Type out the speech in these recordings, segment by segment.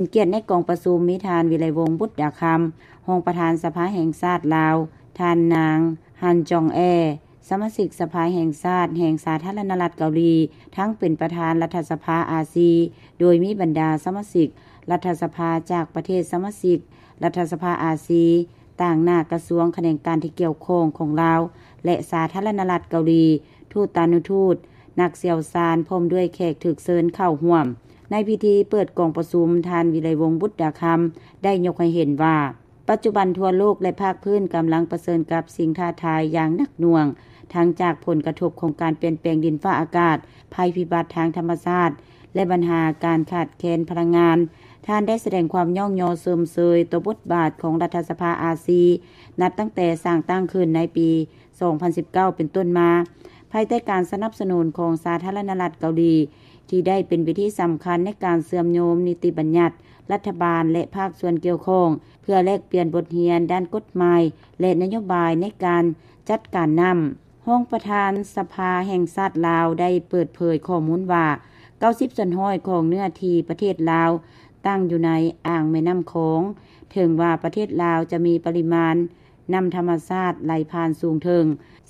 ເປັນກຽດໃນກອງປະຊຸມ ມີທ່ານ ວິໄລວົງ ບຸດດາຄຳ ຮອງປະທານສະພາແຫ່ງຊາດລາວ, ທ່ານນາງ ຮັນຈອງແອ ສະມາຊິກສະພາແຫ່ງຊາດແຫ່ງສາທາລະນະລັດເກົາຫຼີ, ທັງເປັນປະທານລັດຖະສະພາອາຊີ, ໂດຍມີບັນດາສະມາຊິກລັດຖະສະພາຈາກປະເທດສະມາຊິກລັດຖະສະພາອາຊີ, ຕາງໜ້າກະຊວງຂະແໜງການທີ່ກ່ຽວຂ້ອງຂອງລາວ ແລະ ສາທາລະນະລັດເກົາຫຼີ, ທູຕານຸທູດ, ນັກຊ່ຽວຊານ ພ້ອມດ້ວຍແຂກຖືກເຊີນເຂົ້າຮ່ວມ. ໃນພິທີເປີດກອງປະຊຸມ, ທ່ານ ວິໄລວົງ ບຸດດາຄຳ ໄດ້ຍົກໃຫ້ເຫັນວ່າ ປັດຈຸບັນທົ່ວໂລກ ແລະ ພາກພື້ນກຳລັງປະເຊີນກັບສິ່ງທ້າທາຍຢ່າງໜັກໜ່ວງ, ທັງຈາກຜົນກະທົບຂອງການປ່ຽນແປງດິນຟ້າອາກາດ, ໄພພິບັດທາງທຳມະຊາດ ແລະ ບັນຫາການຂາດແຄນພະລັງງານ. ທ່ານໄດ້ສະແດງຄວາມຍ້ອງຍໍຊົມເຊີຍຕໍ່ບົດບາດຂອງລັດຖະສະພາອາຊີ ນັບຕັ້ງແຕ່ສ້າງຕັ້ງຂຶ້ນໃນປີສອງພັນສິບເກົ້າເປັນຕົ້ນມາ, ພາຍໃຕ້ການສະໜັບສະໜູນຂອງສາທາລະນະລັດເກົາຫຼີ, ທີ່ໄດ້ເປັນເວທີສຳຄັນໃນການເຊື່ອມໂຍງນິຕິບັນຍັດລັດຖະບານ ແລະ ພາກສ່ວນກ່ຽວຂ້ອງ ເພື່ອແລກປ່ຽນບົດຮຽນດ້ານກົດໝາຍ ແລະ ນະໂຍບາຍໃນການຈັດການນ້ຳ. ຮອງປະທານສະພາແຫ່ງຊາດລາວໄດ້ເປີດເຜີຍຂໍ້ມູນວ່າ ເກົ້າສິບສ່ວນຮ້ອຍຂອງເນື້ອທີ່ປະເທດລາວຕັ້ງຢູ່ໃນອ່າງແມ່ນ້ຳຂອງ. ເຖິງວ່າປະເທດລາວຈະມີປະລິມານນ້ຳທຳມະຊາດໄຫຼຜ່ານສູງເຖິງ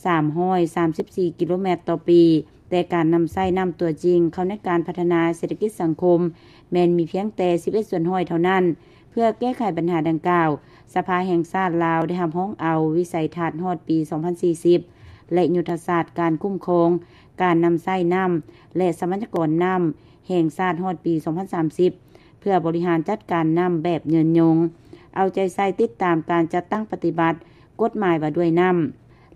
ສາມຮ້ອຍສາມສິບສີ່ກິໂລແມັດຕໍ່ປີ, ແຕ່ການນຳໃຊ້ນ້ຳຕົວຈິງເຂົ້າໃນການພັດທະນາເສດຖະກິດສັງຄົມ ແມ່ນມີພຽງແຕ່ສິບເອັດສ່ວນຮ້ອຍເທົ່ານັ້ນ. ເພື່ອແກ້ໄຂບັນຫາດັ່ງກ່າວ, ສະພາແຫ່ງຊາດລາວໄດ້ຮັບຮອງເອົາວິໄສທັດຮອດປີສອງພັນສີ່ສິບ ແລະ ຍຸດທະສາດການຄຸ້ມຄອງການນຳໃຊ້ນ້ຳ ແລະ ຊັບພະຍາກອນນ້ຳແຫ່ງຊາດຮອດປີສອງພັນສາມສິບ ເພື່ອບໍລິຫານຈັດການນ້ຳແບບຍືນຍົງ, ເອົາໃຈໃສ່ຕິດຕາມການຈັດຕັ້ງປະຕິບັດກົດໝາຍວ່າດ້ວຍນ້ຳ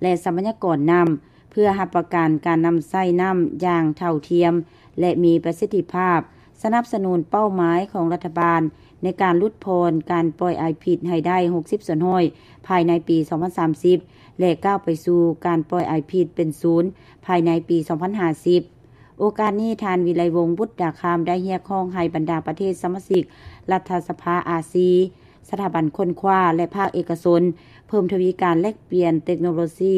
ແລະ ຊັບພະຍາກອນນ້ຳ, ເພື່ອຮັບປະກັນການນຳໃຊ້ນ້ຳຢ່າງເທົ່າທຽມ ແລະ ມີປະສິດທິພາບ, ສະໜັບສະໜູນເປົ້າໝາຍຂອງລັດຖະບານໃນການຫຼຸດຜ່ອນການປ່ອຍອາຍພິດໃຫ້ໄດ້ຫົກສິບສ່ວນຮ້ອຍພາຍໃນປີສອງພັນສາມສິບ ແລະ ກ້າວໄປສູ່ການປ່ອຍອາຍພິດເປັນສູນພາຍໃນປີສອງພັນຫ້າສິບ. ໂອກາດນີ້, ທ່ານ ວິໄລວົງ ບຸດດາຄຳ ໄດ້ຮຽກຮ້ອງໃຫ້ບັນດາປະເທດສະມາຊິກລັດຖະສະພາອາຊີ, ສະຖາບັນຄົ້ນຄວ້າ ແລະ ພາກເອກະຊົນ ເພີ່ມທະວີການແລກປ່ຽນເຕັກໂນໂລຊີ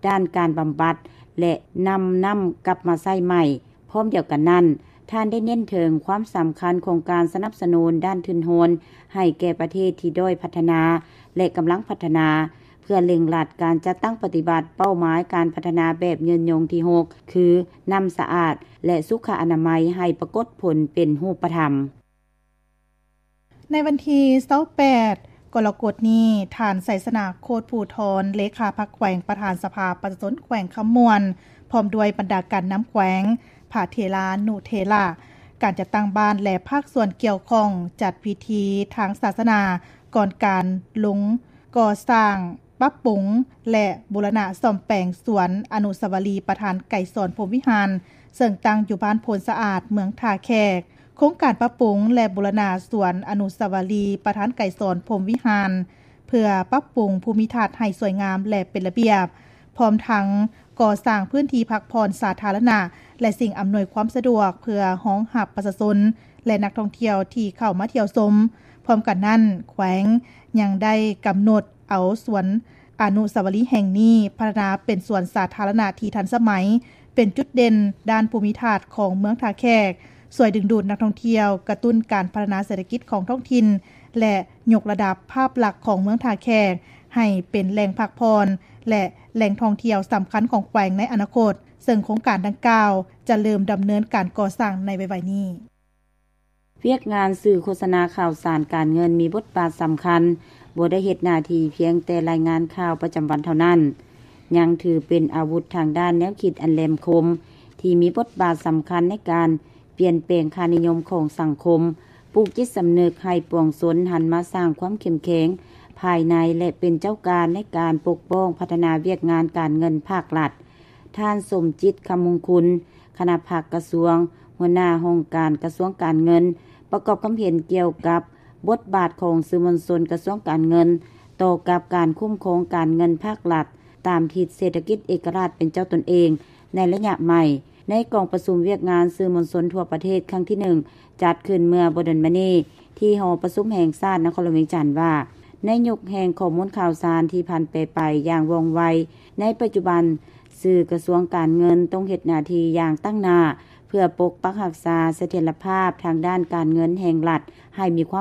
ດ້ານການບຳບັດ ແລະ ນຳນ້ຳກັບມາໃຊ້ໃໝ່. ພ້ອມດຽວກັນນັ້ນ, ທ່ານໄດ້ເນັ້ນເຖິງຄວາມສຳຄັນຂອງການສະໜັບສະໜູນດ້ານທຶນຮອນໃຫ້ແກ່ປະເທດທີ່ດ້ອຍພັດທະນາ ແລະ ກຳລັງພັດທະນາ, ເພື່ອເລັ່ງລັດການຈັດຕັ້ງປະຕິບັດເປົ້າໝາຍການພັດທະນາແບບຍືນຍົງທີຫົກ ຄື ນ້ຳສະອາດ ແລະ ສຸຂະອະນາໄມ ໃຫ້ປາກົດຜົນເປັນຮູບປະທຳ. ໃນວັນທີຊາວແປດ ກໍລະກົດນີ້, ທ່ານ ໄຊຊະນະ ໂຄດພູທອນ ເລຂາພັກແຂວງ, ປະທານສະພາປະຊາຊົນແຂວງຄຳມ່ວນ ພ້ອມດ້ວຍບັນດາການນຳແຂວງ, ພະເຖລານຸເຖລະ, ການຈັດຕັ້ງບ້ານ ແລະ ພາກສ່ວນກ່ຽວຂ້ອງ ຈັດພິທີທາງສາສະໜາ ກ່ອນການລົງກໍ່ສ້າງ, ປັບປຸງ ແລະ ບູລະນະສ້ອມແປງສວນອະນຸສາວະລີປະທານໄກສອນ ພົມວິຫານ, ເຊິ່ງຕັ້ງຢູ່ບ້ານໂພນສະອາດ, ເມືອງທ່າແຂກ. ໂຄງການປັບປຸງ ແລະ ບູລະນະສວນອະນຸສາວະລີປະທານໄກສອນ ພົມວິຫານ ເພື່ອປັບປຸງພູມິທັດໃຫ້ສວຍງາມ ແລະ ເປັນລະບຽບ, ພ້ອມທັງກໍ່ສ້າງພື້ນທີ່ພັກຜ່ອນສາທາລະນະ ແລະ ສິ່ງອຳນວຍຄວາມສະດວກ ເພື່ອຮອງຮັບປະຊາຊົນ ແລະ ນັກທ່ອງທ່ຽວທີ່ເຂົ້າມາທ່ຽວຊົມ. ພ້ອມກັນນັ້ນ, ແຂວງຍັງໄດ້ກຳນົດເອົາສວນອະນຸສາວະລີແຫ່ງນີ້ ພັດທະນາເປັນສວນສາທາລະນະທີ່ທັນສະໄໝ, ເປັນຈຸດເດັ່ນດ້ານພູມິທັດຂອງເມືອງທ່າແຂກ, ຊ່ວຍດຶງດູດນັກທ່ອງທ່ຽວ, ກະຕຸ້ນການພັດທະນາເສດຖະກິດຂອງທ້ອງຖິ່ນ ແລະ ຍົກລະດັບພາບລັກຂອງເມືອງທ່າແຂກໃຫ້ເປັນແຫຼ່ງພັກຜ່ອນ ແລະ ແຫຼ່ງທ່ອງທ່ຽວສຳຄັນຂອງແຂວງໃນອະນາຄົດ, ເຊິ່ງໂຄງການດັ່ງກ່າວຈະເລີ່ມດຳເນີນການກໍ່ສ້າງໃນໄວໆນີ້. ວຽກງານສື່ໂຄສະນາຂ່າວສານການເງິນມີບົດບາດສຳຄັນ, ບໍ່ໄດ້ເຮັດໜ້າທີ່ພຽງແຕ່ລາຍງານຂ່າວປະຈຳວັນເທົ່ານັ້ນ, ຍັງຖືເປັນອາວຸດທາງດ້ານແນວຄິດອັນແຫຼມຄົມ ທີ່ມີບົດບາດສຳຄັນໃນການປ່ຽນແປງຄ່ານິຍົມຂອງສັງຄົມ, ປູກຈິດສຳນຶກໃຫ້ປວງຊົນຫັນມາສ້າງຄວາມເຂັ້ມແຂງພາຍໃນ ແລະ ເປັນເຈົ້າການໃນການປົກປ້ອງພັດທະນາວຽກງານການເງິນພາກລັດ. ທ່ານ ສົມຈິດ ຄຳມຸງຄຸນ, ຄະນະພັກກະຊວງ, ຫົວໜ້າຫ້ອງການກະຊວງການເງິນ, ປະກອບຄຳເຫັນກ່ຽວກັບບົດບາດຂອງສື່ມວນຊົນກະຊວງການເງິນ ຕໍ່ກັບການຄຸ້ມຄອງການເງິນພາກລັດ ຕາມທິດເສດຖະກິດເອກະລາດເປັນເຈົ້າຕົນເອງໃນໄລຍະໃໝ່. ໃນກອງປະຊຸມວຽກງານສື່ມວນຊົນທົ່ວປະເທດຄັ້ງທີໜຶ່ງ ຈັດຂຶ້ນເມື່ອບໍ່ດົນມານີ້ ທີ່ຫໍປະຊຸມແຫ່ງຊາດນະຄອນຫຼວງວຽງຈັນວ່າ, ໃນຍຸກແຫ່ງຂໍ້ມູນຂ່າວສານທີ່ຜັນແປໄປຢ່າງວ່ອງໄວ, ໃນປັດຈຸບັນ ສື່ກະຊວງການເງິນຕ້ອງເຮັດໜ້າທີ່ຢ່າງຕັ້ງໜ້າ ພື່ອປົກປັກຮັກສາສະຖຽນລະພາບທາງດ້ານການເງິນແຫ່ງລັດໃຫ້ມີຄວາມ